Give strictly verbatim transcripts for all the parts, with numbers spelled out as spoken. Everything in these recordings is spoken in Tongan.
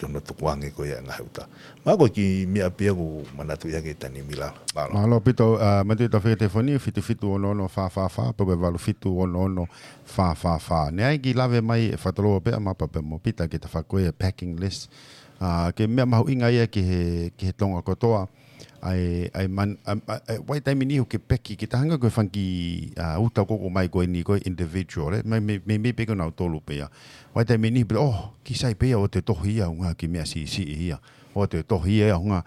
ki hono tukuange ko ia e ngaahi uta. Mahalo ko e kiʻi meʻa pē ia ʻoku ou manatuʻi ʻaki he taimi ni, Lala. Mālō. Mālō ʻaupito, ʻa, manatuʻi ʻetau fekete foni, fitu fitu ono ono fā fā fā, pe ko e valu fitu ono ono fā fā fā. Naʻe ʻi ai e kiʻi lave mai ʻe Fataloa pea mo Pita ki he tafaʻaki ko ia e packing list. ʻA, ko e meʻa mahuʻinga ia ki he, ki he Tonga kotoa. ʻA e, ʻa e man-, ʻa, ʻa, ʻa, ʻi he taimi ni ʻoku ke peki, ke ta hanga ko e fanga kiʻi, ʻa, uta ʻoku ʻomai ko eni ko e individual, ē? Mei, mei, mei, mei pē ko nautolu pē ia. ʻI he taimi ni pē, oh, kiʻi sai pē ia ʻoku te tohi ia, ʻuhinga ki he meʻa siʻisiʻi ia. ʻOku te tohi ia, ʻuhinga.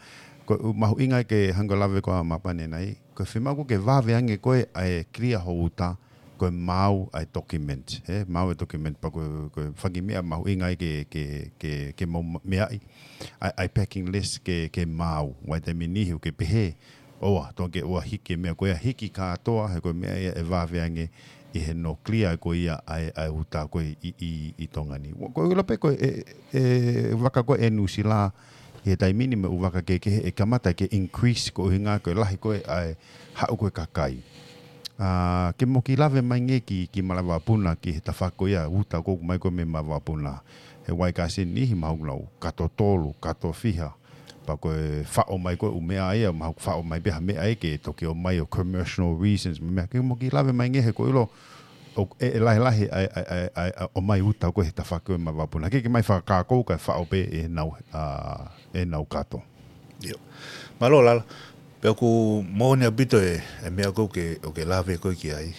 Ko e mahuʻinga ke hanga lave ko ā Mapane nai. Ko e fiemaʻu ko ē ke vave ange ko ē ʻa e clear ho uta, ko e maau ʻa e document, ē? Maau e document, pea ko e, ko e fanga kiʻi meʻa mahuʻinga ia ke, ke, ke, ke mo ma-, meaʻi. ʻA e, ʻa e packing list ke, ke maau. ʻI he taimi ni ʻoku ke pehē, ʻoua, tō ke ʻoua hiki e meʻa ko ia, hiki kātoa, he ko e meʻa ia ʻe vave ange ʻi he no clear ko ia ʻa e, ʻa e uta ko ē ʻi, ʻi, ʻi Tonga ni. Ko e ʻilo pē ko e, e, e vaka ko ē ʻe Nuʻusila, ʻi he taimi ni mo e ʻū vaka kehekehe ʻe kamata ke increase ko e ʻuhinga ko e lahi ko ē ʻa e haʻu ko ē kakai. ʻA, ke mo kiʻi lave mai ange ki, ki malava vakapuna ki he tafaʻaki ko ia uta ʻoku ʻomai ko ē mei malava vakapuna. He ʻoku ʻi ai e kau sini ʻi he mahalo ʻoku nau kato tolu, kato fiha. Pea ko e faʻo mai ko ē ʻū meʻa ia, mahalo ʻoku faʻo mai pē ha meʻa ia ke toki ʻomai ʻo commercial reasons, meʻa ke mo kiʻi lave mai ange he ko e ʻilo, ʻoku, ʻe, ʻe lahilahi ʻa e, ʻa e, ʻa e, ʻa e, ʻa e ʻomai uta ko ē he tafaʻaki ko ē malava vakapuna. Ke, ke ʻomai fakakākau kae faʻo pē ʻenau, ʻa, ʻenau kato. ʻIo. Mālō Lala. Pea ʻoku moʻoni ʻaupito e, e meʻa ko ē ʻoku ke, ʻoku ke lave ko ē ki ai.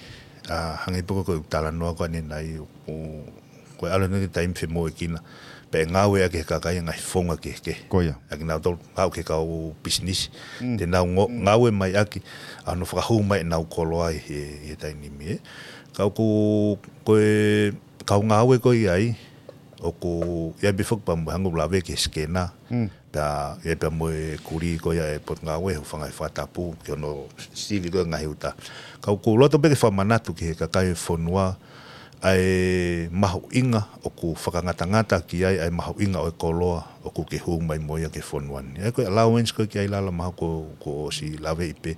ʻA, hangē pē ko e talanoa ko eni nai, ʻoku, ko e ʻalu eni ki he taimi femoʻuekina. Pea ʻe ngāueʻaki ʻe he kakai e ngaahi founga kehekehe. Ko ia. ʻA kinautolu, haʻu ki he kau pisinisi. Mm. Te nau ngo-, ngāue mai ʻaki, ʻa hono fakahū mai ʻenau koloa ʻi he, ʻi he taimi ni, ē. Ka ʻoku, ko e, kau ngāue ko ē ʻi ai, ʻoku, ʻi ai pē foki pea mo e hangē ʻoku lave ki he scanner. Mm. Pea, ʻi ai pea mo e kulī ko ia e Potungāue, hūfanga he fakatapu, ki hono sivi ko ē ngaahi uta. Ka ʻoku ou loto pē ke fakamanatu ki he kakai e fonua, ʻa e mahuʻinga ʻoku fakangatangata ki ai, ʻa e mahuʻinga ʻo e koloa ʻoku ke hū mai mo ia ki he fonua ni. ʻA ia ko e allowance ko ē ki ai Lala mahalo kuo, kuo ʻosi laveʻi pē,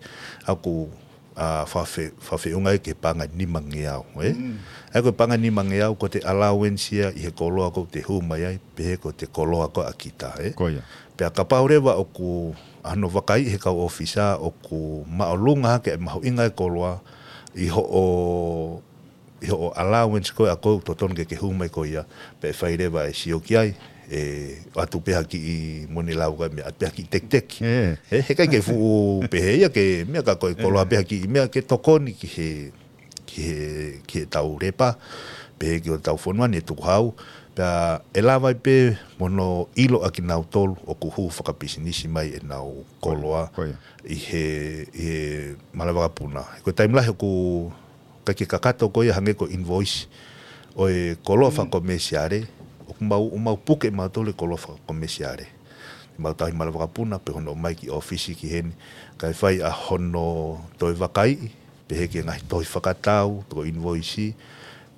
ʻa ʻoku ʻa, fakafe-, fakafeʻunga ia ki he paʻanga ʻe nimangeau, ē? Mm. ʻA ia ko e paʻanga ʻe nimangeau ko ʻete allowance ia ʻi he koloa ʻoku te hū mai ai, pehē ko ʻete koloa ko ē ʻa kita, ē? Ko ia. Pea kapau leva ʻoku, ʻa hono vakaiʻi ʻe he kau ʻōfisa ʻoku māʻolunga hake e mahuʻinga e koloa ʻi hoʻo, ʻi hoʻo allowance ko ē ʻa ʻoku totonu ke ke hū mai ko ia, pea ʻe fai leva e sio ki ai, ʻe ʻoatu pē ha kiʻi moni lau ka meʻa, ʻoatu pē ha kiʻi tekiteki. Ē. Ē, heʻikai ke fuʻu pehē ia ke meʻa ka ko e koloa pē ha kiʻi meʻa ke tokoni ki he, ki he, ki heʻetau lepa, pehē ki hotau fonua ni ʻe tukuhau, pea ʻe lava ai pē mo hono ʻilo ʻa kinautolu ʻoku hū fakapisinisi mai ʻenau koloa Ko ia. ʻi he, ʻi he malava vakapuna. Ko e taimi lahi ʻoku ʻikai ke kakato ko ia hangē ko e invoice ʻo e koloa fakakomesiale, ʻoku mau, ʻoku mau puke mautolu e koloa fakakomesiale. Mau tauhi malava vakapuna, pea hono ʻomai ki ʻōfisi ki heni, kae fai ʻa hono toe vakaiʻi, pehē ki he ngaahi tohi fakatau, ko e invoice,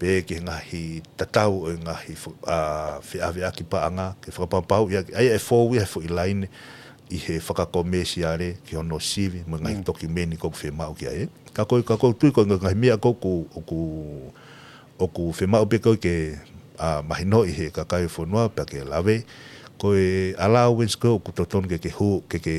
pehē ki he ngaahi tatau ʻo e ngaahi fa-, ʻa, feʻaveʻaki paʻanga, ke fakapapauʻi ʻaki, ʻa ia ʻe fou ia he foʻi laine, ʻi he fakakomesiale ki hono sivi mo e ngaahi tokimeni ʻoku fiemaʻu ki ai. Ka ko e, ka ʻoku ou tui ko e ngaahi meʻa ʻoku, ʻoku, ʻoku fiemaʻu pē ko ē ke, ʻa, mahinoʻi ʻe he kakai e fonua pea ke lave. Ko e allowance ko ē ʻoku totonu ke, ke hū, ke, ke,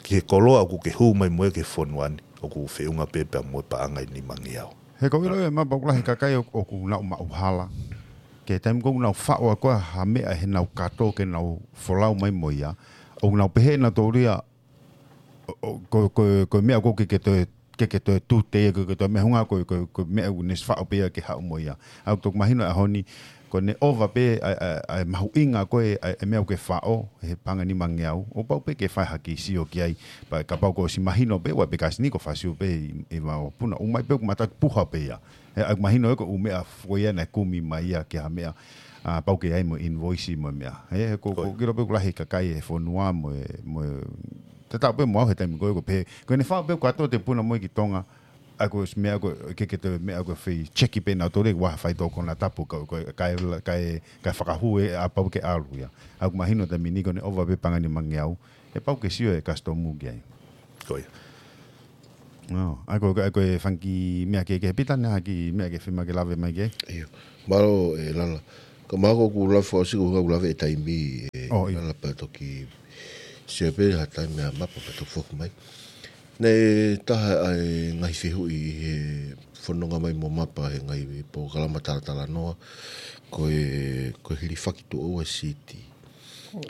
ki he koloa ʻoku ke hū mai mo ia ki he fonua ni, ʻoku feʻunga pē pea mo e paʻanga ʻe nimangeau. He ʻoku ou ʻilo ʻe Mapane ʻoku lahi e kakai ʻoku, ʻoku nau maʻu hala. Ki he taimi ʻoku nau faʻo ʻaki ha meʻa heʻenau kato ke nau folau mai mo ia. ʻOku nau pehē nautolu ia, ʻo, ʻo, ko, ko, ko e meʻa ʻoku ke, ke toe, ke, ke toe tute ia, ke, ke toe meʻa, ʻuhinga ko, ko, ko e meʻa ʻoku ne ʻosi faʻo pē ia ke haʻu mo ia. ʻA ia ʻoku toki mahino ʻa e ʻaho ni, ko ʻene ʻova pē ʻa e, ʻa e, ʻa e mahuʻinga ko ē ʻa e, ʻa e meʻa ʻoku ke faʻo, he paʻanga ʻe nimangeau, ʻoku pau pē ke fai ha kiʻi sio ki ai, pea kapau kuo ʻosi mahino pē, ʻoua pē kasi ni ko e fai sio pē ʻi, ʻi malava vakapuna, ʻomai pē ʻoku mātuʻaki puha pē ia. He ʻoku mahino ē ko e ʻū meʻa foʻou ia naʻe kumi mai ia ki ha meʻa, ʻa, pau ke ʻi ai mo e invoice mo e meʻa. He, he ʻoku, ʻoku ou ʻilo pē ʻoku lahi e kakai he fonua mo e, mo e, tatau pē mo au he taimi ko ē ʻoku pehē, ko ʻene faʻo pē ʻoku kātoa ʻete puna mo ia ki Tonga, ʻa ia ko e meʻa ʻoku, ke, ke toe meʻa ʻoku fai check pē nautolu ʻoku ʻi ai ha faitoʻo konatapu ka, ka, kae, kae, kae fakahū ē ʻa pau ke ʻalu ia. ʻA ia ʻoku mahino taimi ni ko ʻene ʻova pē paʻanga ʻe nimangeau, he pau ke sio e custom ki ai. Ko ia. ʻO, ʻa ia ko, ʻa ia ko e fanga kiʻi meʻa kehekehe, Pita, naʻe ʻi ai ha kiʻi meʻa ke fiemaʻu ke lave mai ki ai. ʻIo. Mālō, ē, Lala. Ka mahalo ʻoku lava ʻo siʻi ʻoku lava e taimi ʻe Oh, ʻio. Lala pea toki sio pē ha taimi ʻa Mapa pea toki foki mai. Naʻe taha ʻa e ngaahi fehuʻi ʻi he fononga mai mo Mapa he ngaahi polokalama talatalanoa, ko e, ko e hilifaki tuʻo ua e siti.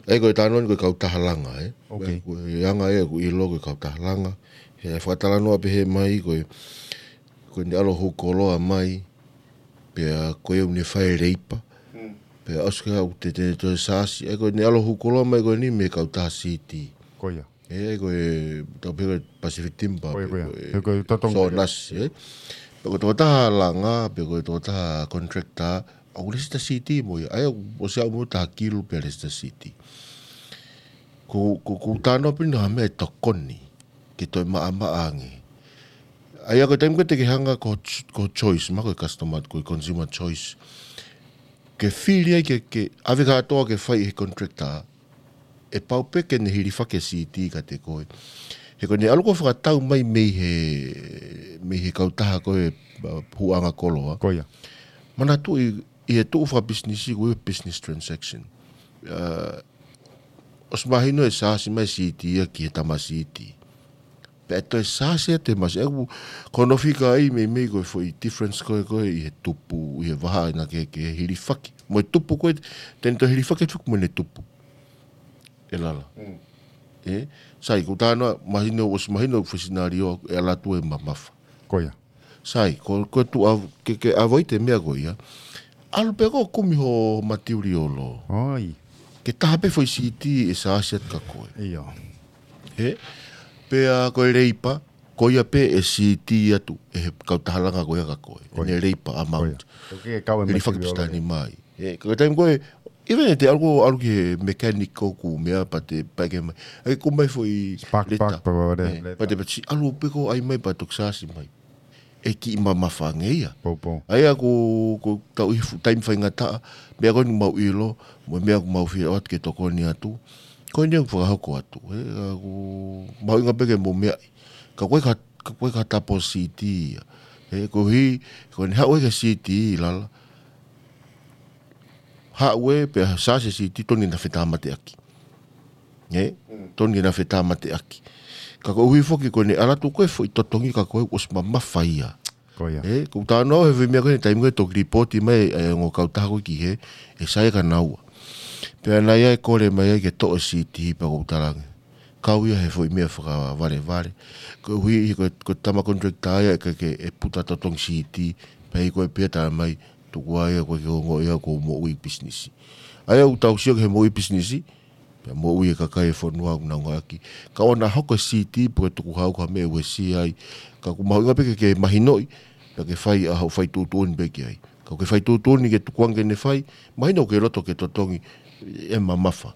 ʻA ia ko e talanoa ni ko e kautaha langa, ē? Ok. Ko e anga ē ʻoku ʻilo ko e kautaha langa. He fakatalanoa pehē mai ko e, ko ʻene ʻalu ʻo hū koloa mai, pea ko ia ʻoku ne fai e leipa. Mm. Pea ʻosi ko ia ʻoku te, te, te saasi. ʻA ia ko ʻene ʻalu ʻo hū koloa mai ko eni mei he kautaha siti. Ko ia. ʻA ia ko e, tau pehē ko e Pacific Timber, Ko ia, ko ia. ko e He ko e totongi. Sonas, ē? Pea ko e tokotaha langa, pea ko e tokotaha contractor, ʻoku lēsisita siti mo ia. ʻA ia ʻosi ʻalu mo taha kilu pea lēsisita siti. Ko, ko, ko e talanoa pē ʻeni ha meʻa ʻe tokoni ke toe maʻamaʻa ange. ʻA ia ko e taimi ko ē te ke hanga ko, ko choice, mahalo ko e customer, ko e consumer choice. Ke fili ai ke, ke ʻave kātoa ke fai he contractor, ʻe pau pē ke ne hilifaki e siti kiate koe. He ko ʻene ʻalu ko ē ʻo fakatau mai mei he, mei he kautaha ko ē, uh, hūʻanga koloa. Ko ia. Manatuʻi, ʻi he tuʻu fakapisinisi ko e business transaction. Uh, ʻosi mahino ʻe saasi mai e siti ia ki he tama siti. Pea toe saasi atu e masi. ʻA ia ko hono fika ai meimei ko e foʻi difference ko ē, ko ē ʻi he tupu, ʻi he vahaʻa naʻa ke, ke hilifaki. Mo e tupu ko ē, te ne toe hilifaki atu mo ʻene tupu. ʻE Lala. Mm. Ē? Sai, ko e talanoa, mahino, ʻosi mahino foʻi scenario, ʻe ʻalu atu ʻe mamafa. Ko ia. Sai, ko, ko e tuʻu ʻa, ke, ke ʻave ʻi he meʻa ko ia. ʻAlu pē koe ʻo kumi ho material. ʻOi. Ke taha pē foʻi siti ʻe saasi atu kia koe. ʻIo. Ē? Pea ko e leipa, ko ia pē ʻe siti atu, ʻe he kautaha langa ko ia kia koe. Ko ia. ʻEne leipa amount. Ko ia. Ko e kau e Hilifaki material. Pea tani mai. Ē, ko e taimi ko ē, even ʻe te ʻalu ko ʻalu ki he mechanic ko ē ʻoku meʻa pea te pehē mai. ʻAi ko e mai foʻi Spark leta. Plug, pea ko e Ē, leta. Pea te pehē ʻalu pē koe ʻai mai pea toki saasi mai. ʻE kiʻi mamafa ange ia. Pou, pou. ʻA ia ko, ko tau ʻi he fuʻu taimi faingataʻa, meʻa ko eni ʻoku mau ʻilo, mo e meʻa ʻoku mau fie ʻoatu ke tokoni atu. Ko eni ʻoku fakahoko atu. Ē, ka ʻoku mahuʻinga pē ke mou meaʻi. Ka ko e ka, ka ko e ka tapo siti ia. Ē, koeʻuhi, ko ʻene haʻu ʻa e siti Lala. Haʻu ē, pea saasi e siti totonu ke na fetāmateʻaki. Ē? Mm. Totonu ke na fetāmateʻaki. Ka koeʻuhi foki ko ʻene ʻalu atu ko e foʻi totongi kia koe ʻosi mamafa ia. Ko ia. Ē, ko e talanoa he foʻi meʻa ko ē he taimi ko ē toki lipooti mai ʻa e ongo kautaha ko ē ki hē, ʻe sai kia naua. Pea naʻe ʻi ai e kole mai ai ke toʻo e siti pea ko e talaange. Kau ia he foʻi meʻa fakavalevale. Koeʻuhi ko, ko e tama contractor ia ʻe ke, ke ʻe puta totongi siti, pea ʻi ko e pea tala mai, tuku ā ia ko e ke ongo ia ko e moʻui pisinisi. ʻA ia ʻoku tau sio ki he moʻui pisinisi, pea moʻui e kakai e fonua ʻoku nau ngāueʻaki. Ka ʻoua naʻa hoko e siti pe ko e tukuhau ko ha meʻa uesia ai. Ka ʻoku mahuʻinga pē ke, ke mahinoʻi, pea ke fai ʻa hoʻo fai tuʻutuʻuni pē ki ai. Ka ʻoku ke fai tuʻutuʻuni ke tukuange ke ne fai, mahino ʻoku ke loto ke totongi ʻe mamafa.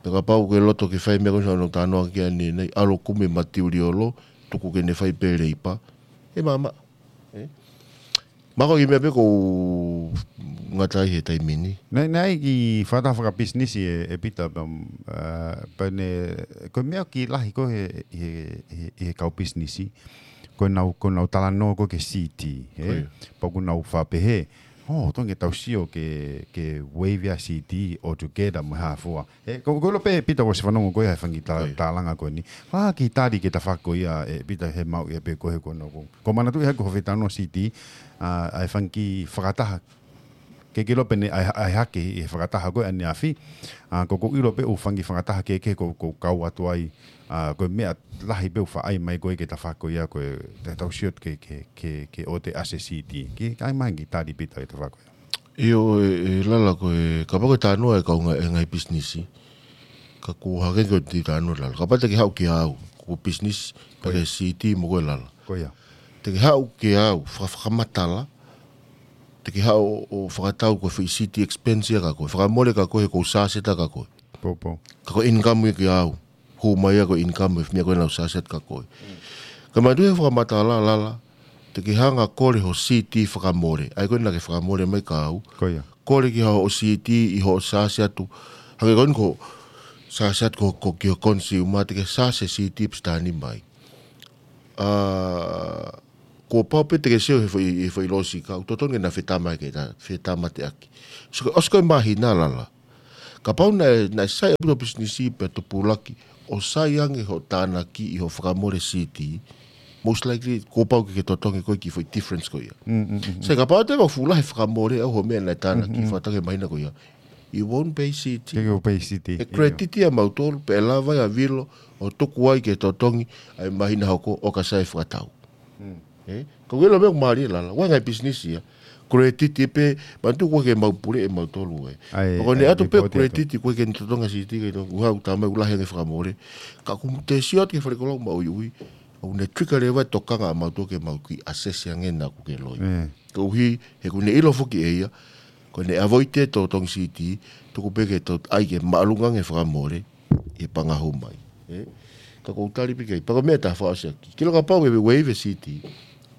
Pea kapau ʻoku ke loto ke fai meʻa ko ē hono talanoa ki ai ʻanenai, ʻalu ʻo kumi e material, tuku ke ne fai pē leipa, ʻe maʻamaʻa. Ē? Mahalo ko e kiʻi meʻa pē ʻoku ou ngata ai he taimi ni. Naʻe, naʻe ʻi ai e kiʻi fakataha fakapisinisi ē, ē Pita, pea, ā, pea ne, ko e meʻa ʻoku kiʻi lahi ko ē he, he, he, he kau pisinisi, ko ʻenau, ko ʻenau talanoa ko ē ki he siti, ē? Ko ia. Pea ʻoku nau faʻa pehē, ʻo, totonu ke tau sio ke, ke waive ʻa e siti altogether mo e hā fua. Ē, ko, ko e ʻilo pē Pita ʻoku ʻosi fanongo koe he fanga kiʻi ta-, Ko ia. Talanga ko eni. Fanga kiʻi tali ki he tafaʻaki ko ia ē Pita he maʻu ia pē ko ē he ko ena ko. Ko e manatuʻi hake ko e fetano siti, ā, ʻa e fanga kiʻi fakataha. Ke ke ʻilo pē ʻene ʻai, ʻai hake ʻi he fakataha ko ē ʻaneafi. Ā, ko, ko e ʻilo pē ʻoku fanga kiʻi fakataha kehekehe ʻoku, ʻoku kau atu ai. Ā, ko e meʻa lahi pē ʻoku faʻa ʻai mai ko ē ki he tafaʻaki ko ia ko e te tau sio ke, ke, ke, ke ʻoua te ʻasi e siti. Ke ʻai mai ha kiʻi tali Pita ki he tafaʻaki ko ia. ʻIo, ē, ē Lala ko e, kapau ko e talanoa ʻa e kau ngā-, ʻa e ngaahi pisinisi. Ka ʻoku hangē ko e kiʻi talanoa Lala. Kapau te ke haʻu kia au, ko e pisinisi, Ko ia. Pea ke siti mo koe Lala. Ko ia. Te ke haʻu kia au, faka-, fakamatala. Te ke haʻu ʻo, ʻo fakatau ko e foʻi siti expense ia kia koe. Fakamole kia koe, he ʻoku ou sāseta kia koe. Pou, pou. Ka ko e income ia kia au. Hū mai ia ko e income, ʻa e meʻa ko ē naʻa ku sāseta kia koe. Ka mahalo ʻe fakamatala Lala, te ke hanga ʻo kole hoʻo siti fakamole. ʻA ia ko ē naʻa ke fakamole mai kia au. Ko ia. Kole ki hoʻo siti ʻi hoʻo sāseta atu. Hangē ko eni ko e sāseta atu ko, ko ki hoʻo consumer, te ke sāseta e siti pea sitani mai. Ā, Kuo pau pē te ke sio he foʻi, he foʻi losika, ʻoku totonu ke na fetama ke ta, fetama te aki. So, ʻosi ko e māhina lala. Kapau naʻe, naʻe sai ʻaupito pisinisi pea tupulaki, ʻo sai ange hoʻo tānaki ʻi hoʻo fakamole C T, most likely, kuo pau ke ke totongi koe ki he foʻi difference ko ia. Mm, mm, mm, mm. Sai kapau te mau fuʻu lahi e fakamole ʻa hoʻo meʻa naʻe tānaki, mm, fakataha ki he māhina ko ia. You won't pay C T. Ke ke pay C T. ʻE credit ia mautolu, pea ʻe lava ia ʻa Vilo, ʻo tuku ai ke totongi, ʻa e māhina hoko, ʻo ka sai fakatau. Mm. Eh? Ka ʻoku ʻilo meʻa ʻoku mālie lala, ʻoku ʻi ai e ngaahi pisinisi ia. Credit pē, manatu ʻoku ʻikai ke mau pule ʻe mautolu ē. ʻAi, ʻoku ne ʻai ʻatu pē report atu. Credit, ʻoku ʻikai ke ne totongi C T ke no, ʻuha ʻoku tau mai ʻoku lahi ange e fakamole. Ka ʻoku te sio atu ki he fale koloa maʻuiʻui, ʻoku ne trigger leva e tokanga ʻa mautolu ke mau kiʻi assess ange naʻa ʻoku ke loi. Eh. Koeʻuhi, he ʻoku ne ʻilo foki ʻe ia, ko ʻene avoid e totongi C T, tuku pē ke to-, ʻai ke māʻolunga ange e fakamole, ʻi he panga hū mai. Eh? Ka ʻoku ou tali pē ki ai, pea ko e meʻa ʻe taha fakaʻosi ʻaki. Ke ʻilo kapau ʻe waive C T,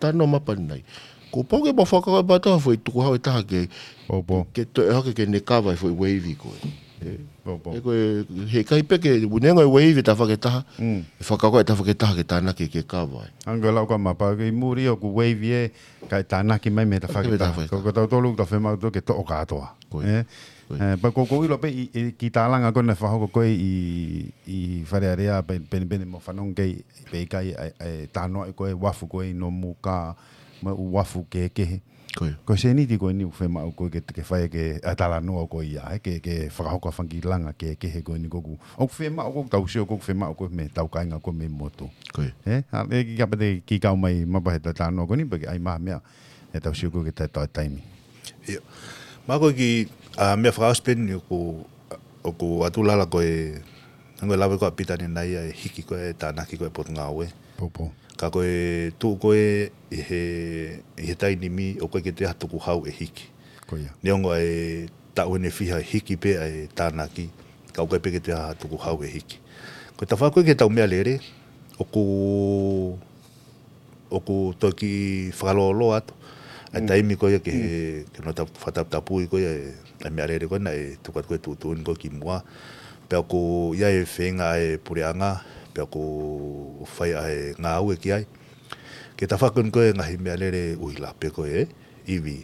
talanoa mai pē ʻanenai. Kuo pau ke mau fakakaukau atu ha foʻi tukuhau ʻe taha ke, pau, pau, ke toe hake ke ne cover e foʻi waive ko ē. Eh? Pau, pau. He ko e, he ʻikai pē ke, ʻuhinga e waive tafaʻaki ʻe taha, mm, ʻe fakakaukau e tafaʻaki ʻe taha ke tānaki ke cover ai. Hangē ko e lau ko ē ʻa Mapa, ko e moʻoni ʻoku waive ē, kae tānaki mai mei he tafaʻaki ʻe taha. Tānaki mei he tafaʻaki ʻe taha. Ko, ko tautolu ʻoku tau fiemaʻu ʻoku tau ke toʻo kātoa. Ko ia. Eh? Ko ia. Eh, pea ʻoku ou ʻilo pē ʻi, ʻi he kiʻi tālanga ko ē naʻe fakahoko ko ē ʻi, ʻi Fale Alea, pe, penipeni mo fanongo ki ai, pe ʻikai, ʻa e, ʻa e talanoa ko ē ʻa e uafu ko ē ʻi Nomuka, mo e uafu kehekehe. Ko ia. Ko e sēniti ko eni ʻoku fiemaʻu ko ē ke, ke fai ki he talanoa ko ia, eh, ke, ke fakahoko ha fanga kiʻi langa kehekehe ko eni ko ē ʻoku, ʻoku fiemaʻu ko ē ʻoku tau sio ko ē ʻoku fiemaʻu ko ē mei heʻetau kāinga ko ē mei he motu. Ko ia. Eh? ʻA, ʻe kiʻi kapau te ke kiʻi kau mai Mapa he talanoa ko eni, pea ke ʻai mai ha meʻa, ʻetau sio ko ē ki he taimi. ʻIo. Mā ko e kiʻi, ʻa, meʻa fakaʻosi pē eni ʻoku, ʻoku ʻatu lala ko e, hangē ko e lave ko ē ʻa Pita ʻanenai ʻa e hiki ko ē e tānaki ko ē ʻa e potungāue. Pau, pau. Ka ko e tuʻu ko ē ʻi he, ʻi he taimi ni ʻoku ʻikai ke toe ʻi ai ha tukuhau ʻe hiki. Ko ia. Neongo ʻa e taʻu ʻe fiha ʻe hiki pē ʻa e tānaki, ka ʻoku ʻikai pē ke toe ʻi ai ha tukuhau ʻe hiki. Ko e tafaʻaki ko ē ki heʻetau meʻalele, ʻoku ʻoku toe kiʻi fakalōloa atu. ʻA e, mm, taimi ko ia ke, mm, ke nau tau-, fakataputapui ko ia e, ʻa e meʻalele ko ē naʻe tuku atu ko ē tuʻutuʻuni ko ē kimuʻa. Pea ʻoku ʻi ai e feinga ʻa e puleʻanga, pea ʻoku fai ʻa e ngāue ki ai. Ki he tafaʻaki ko ē ngaahi meʻalele ʻuhila pe ko e ivi.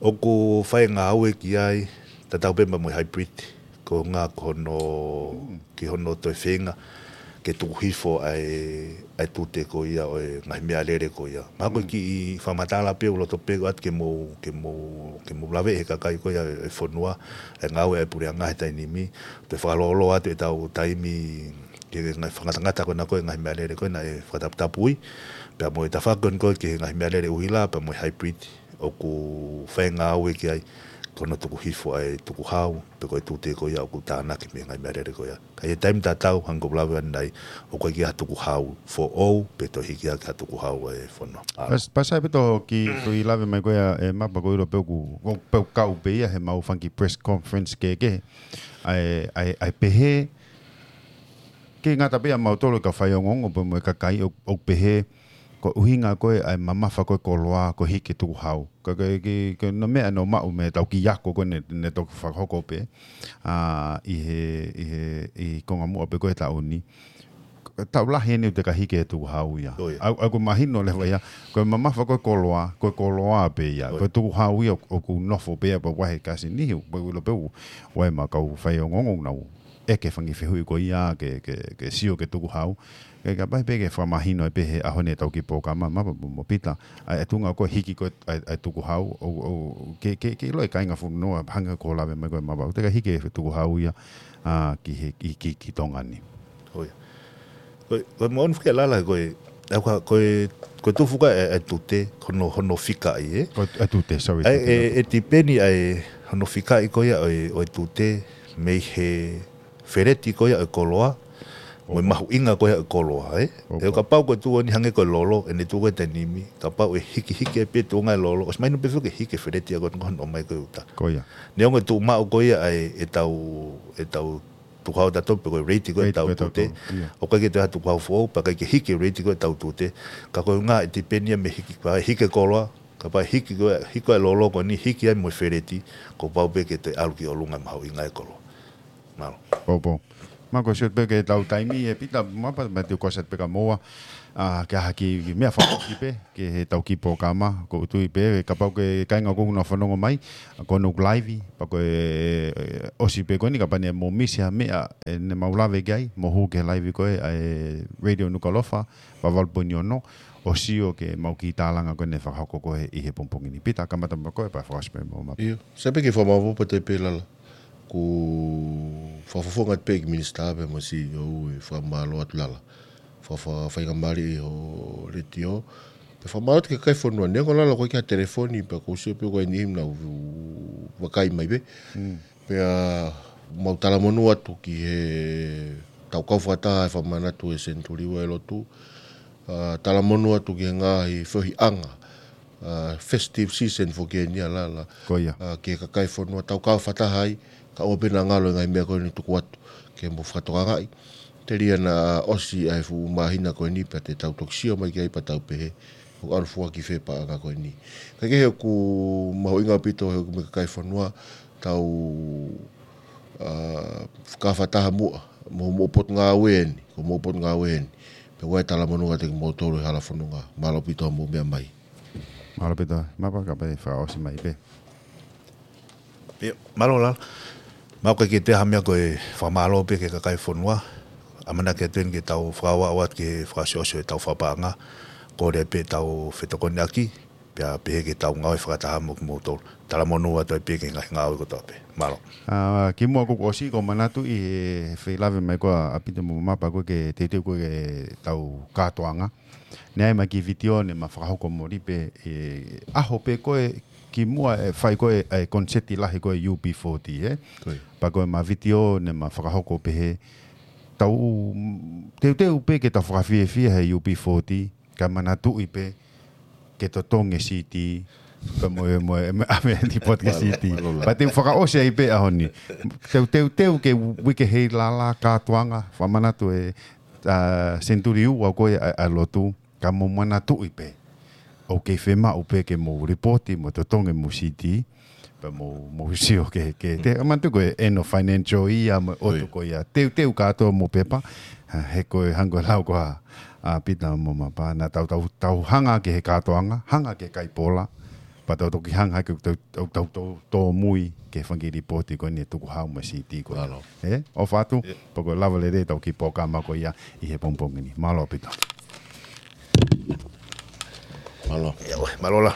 ʻOku fai e ngāue ki ai, tatau pē mo e hybrid, ko e ʻuhinga ko hono, mm, ki hono toe feinga ke tuku hifo ʻa e, ʻa e tute ko ia ʻo e ngaahi meʻalele ko ia. Mā ko e, mm, kiʻi fakamatala pē ʻoku loto pē ʻoatu ke mou, ke mou, ke mou lave he kakai ko ia e fonua, e ngāue ʻa e puleʻanga he taimi ni, toe fakalōloa atu ʻetau taimi ki he ngaahi fakangatangata ko ena ko ē ngaahi meʻalele ko ē naʻe fakataputapui, pea mo e tafaʻaki ko ē ki he ngaahi meʻalele ʻuhila, pea mo e hybrid, ʻoku fai e ngāue ki ai, ko hono tuku hifo ʻa e tukuhau, pe ko e tute ko ia ʻoku tānaki mei he ngaahi meʻalele ko ia. Ka ʻi he taimi tatau, hangē ko e lave ʻanenai, ʻoku ʻikai ke ʻi ai ha tukuhau foʻou, pe toe hiki hake ha tukuhau ʻa e fonua. ʻA. Pas-, pasi pē ʻetau kiʻi, mm, kiʻi lave mai ko ia ē Mapa, ʻoku ou ʻilo pē ʻoku, ʻoku pē ʻoku kau pē ia he ʻemau fanga kiʻi press conference kehekehe. ʻA e, ʻa e, ʻa e pehē, ʻikai ngata pē ʻia mautolu kau faiongoongo pea mo e kakai ʻoku, ʻoku pehē, ko e ʻuhinga ko ē ʻa e mamafa ko ē e koloa, ko e hiki e tukuhau. Ka, ka, ka, ka ko e meʻa naʻe maʻu mei heʻetau kiʻi ako ko ē naʻe, naʻe toki fakahoko pē, ʻa, ʻi he, ʻi he, ʻi he konga muʻa pē ko ē e taʻu ni. Taʻu lahi eni ʻoku teʻeki ai hiki e tukuhau ia. ʻIo. ʻA, ʻa, ʻoku mahino leva ia, ko e mamafa ko ē e koloa, ko e koloa pē ia. ʻIo. Ko e tukuhau ia ʻoku, ʻoku nofo pē ia pea vahe kasi nihi, pea ʻoku ou ʻilo pē ʻoku ʻi ai ʻemau kau faiongoongo ʻoku nau ʻeke e fanga kiʻi fehuʻi ko ia ke, ke, ke sio ki he tukuhau. Ke, ke pehē pē ke fakamahino ai pē he ʻaho ni ʻetau kiʻi polokalama, Mapa mo, mo Pita, ʻa e, ʻa e tuʻunga ko ē hiki ko ē ʻa e, ʻa e tukuhau, ʻo, ʻo, ke, ke, ke ʻilo e kāinga fonua, hangē ko e lave mai ko ē ʻa Mapa, ʻoku teʻeki ai hiki e tukuhau ia, ʻa, ki he, ki, ki, ki Tonga ni. ʻIo. Ko e, ko e moʻoni fika lala ko e, ʻa, ko e, ko e, ko e tuʻu fuka e, e tute, hono, hono fikaʻi, ē? Ko e, e tute, sorry, ʻA e, tute, e, tute. E tipeni ʻa e, hono fikaʻi ko ia ʻo e, ʻo e tute, mei he feleti ko ia ʻo e koloa, mo e, ʻOku. mahuʻinga ko ia ʻo e koloa, ē? ʻOku. ʻE kapau ko e tuʻu eni hangē ko e lolo, ʻene tuʻu ko ē he taimi ni, kapau ʻe hikihiki ai pē tuʻunga e lolo, ʻosi mahino pē foki ke hiki e feleti ia ko ē ʻoku ne ʻomai ko ē ʻuta. Ko ia. Neongo e tuʻu maʻu ko ia ʻa e, ʻetau, ʻetau tukuhau ʻatautolu pe ko e rate ko ē Rate ʻetau ko ē tute. ʻatautolu, ia. ʻOku ʻikai ke toe ʻi ai ha tukuhau foʻou, pea ʻikai ke hiki e rate ko ē ʻetau tute. Ka ko e ʻuhinga ʻe tipeni ia mei he hiki, pea hiki e koloa, kapau ʻe hiki ko ē, hiki ko ē e lolo ko eni, hiki ai mo e feleti, kuo pau pē ke toe ʻalu ki ʻolunga e mahuʻinga e koloa. Mālō. Poupou. Mako, sio pē ki heʻetau taimi, ʻe Pita, mapa, ma te kosa pē ka moa, ʻa, ke ʻai ha kiʻi meʻa fakaʻosi pē, ki heʻetau kiʻi polokalama, ko u tui pē, kapau ko e kāinga ʻoku nau fanongo mai, ʻa, ko ʻenau live, pea ko e, ʻosi pē ko eni kapau ne mou misi ha meʻa, ʻe, ne mau lave ki ai, mou hū ki he live ko ē, ʻa e Radio Nukuʻalofa, valu valu poini ono, ʻo sio ki heʻemau kiʻi tālanga ko eni fakahoko ko ē ʻi he pongipongi ni. Pita, kamata mo koe, pea fakaʻosi pē mo mapa. ʻIo, sai pē ke fakamālō pē te pē Lala. Ko e fakafofonga pē ki he minisitā pea mo e C E O ʻi he fakamālō atu Lala. Fa, fa, faingamālie ʻi hoʻo letiō. Pea fakamālō atu ki he kakai fonua, neongo Lala ko e kiʻi telefoni pea ko u sio pē ko e niʻihi naʻa nau vakai mai pē. Mm. Pea mau talamonū atu ki he tau kau fakataha he fakamanatu ʻa e senituli ua ʻo e lotu. ʻA, talamonū atu ki he ngaahi feohiʻanga, ʻa, festive season foki eni ʻa Lala. Ko ia. ʻA, ki he kakai fonua tau kau fakataha ai, ka ʻoua pē naʻa ngalo e ngaahi meʻa ko eni tuku atu ke mou fakatokangaʻi. Telia naʻa ʻosi ʻa e fuʻu māhina ko eni pea te tau toki sio mai ki ai pea tau pehē ʻoku ʻalu fua ki fē paʻanga ko eni. Ka kehe ʻoku mahuʻinga ʻaupito he ʻoku mei he kakai fonua tau, ʻa, kau fakataha muʻa, mo, mo e potungāue eni, ko e mo e potungāue eni. Pea ʻoku ʻi ai e talamonū kiate kimoutolu he hala fononga. Mālō ʻaupito hoʻomou meʻa mai. Mālō ʻaupito, mapa, kapau ʻe fakaʻosi mai pē. ʻIo, mālō Lala. Mau ka ke te ha meʻa ko e fakamālō pē ki he kakai fonua. ʻAmanaki atu eni ke tau fakaaʻu atu ki he fakaʻosiʻosi ʻo ʻetau fakapaʻanga. Kole pē ʻetau fetokoniʻaki, pea pehē ke tau ngāue fakataha mo kimoutolu. Talamonū atu ai pē ki he ngaahi ngāue kotoa pē. Mālō. ʻA, kimuʻa ʻoku ou ʻosi, ʻoku ou manatuʻi he feilave mai ko ia ʻa Pita mo mapa ko ē ke teuteu ko ē ke tau kātoanga. Naʻe ʻi ai ʻema kiʻi vitiō ne ma fakahoko moli pē, ʻe, ʻaho pē ko ē kimuʻa ʻe fai ko ē ʻa e koniseti lahi ko ē U B forty, ē? Ko ia. Pea ko ʻema vitiō ne ma fakahoko pē he tau teuteu pē ke tau fakafiefia he U B forty, kae manatuʻi pē ke totongi e CD, pea mo e, mo e, mo e, ʻave e lipooti ki he CD. Mālō, mālō Lala. Pea te u fakaʻosi ai pē ʻaho ni. Teu, teuteu ke uike hei Lala kātoanga, fakamanatu e, ʻa, senituli ua ko ē ʻa, ʻa e lotu, ka mou manatuʻi pē. ʻOku kei fiemaʻu pē ke mou lipooti, mo totongi mo CD, pea mou, mou sio ke, ke, te, manatu ko e end of financial year, mo e ʻotu ko ia. Teuteu kātoa mo e pepa, ʻa, he ko e hangē ko e lau ko ia ʻa, ʻa Pita mo mapa, naʻa tau, tau, tau hanga ki he kātoanga, hanga ki he kai pola, pea tau toki hanga ki he tau, tau, tau, tau, tau mui ki he fanga kiʻi lipooti ko eni ʻe tuku hau mo e CD ko ia. Mālō. Ē? ʻOfa atu, ʻIo. Pea ko e lava lelei ʻetau kiʻi polokalama ko ia ʻi he pongipongi ni. Mālō Pita. Mālō. ʻIo, mālō Lala.